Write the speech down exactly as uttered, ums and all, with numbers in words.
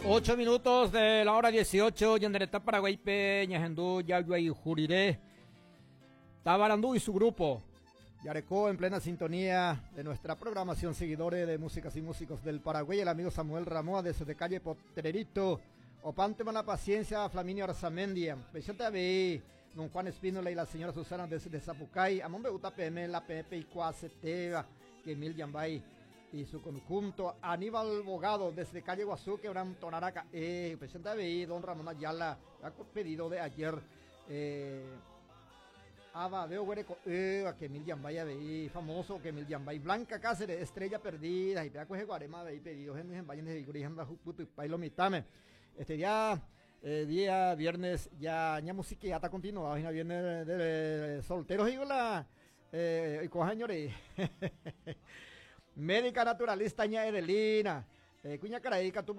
Ocho minutos de la hora dieciocho, ñane retã Paraguáipe, ñahendu Jayuayhu Rire, Tabarandú y su grupo. Yareco en plena sintonía de nuestra programación, seguidores de Músicas y Músicos del Paraguay, el amigo Samuel Ramoa desde calle Potrerito, Opante la paciencia, Flaminio Arzamendia, Vicente don Juan Espínola y la señora Susana desde Zapucay, Amón U P M, la P P y Cuaseteva, Emil Yambay y su conjunto, Aníbal Bogado desde calle Guazú, Quebran Tonaraca, eh, presidente don Ramón Ayala, pedido de ayer, eh, Aba, veo eh, que Emil Yambay, famoso que Emil Yambay, Blanca Cáceres, Estrella Perdida, y pea coge guarema de pedido, en vayan de y este día, eh, día viernes, ya, ya música ya está continuada, ya viene de, de, solteros y la, eh, y cojañores. Médica naturalista ña Edelina, eh, cuña Caraíca tuvo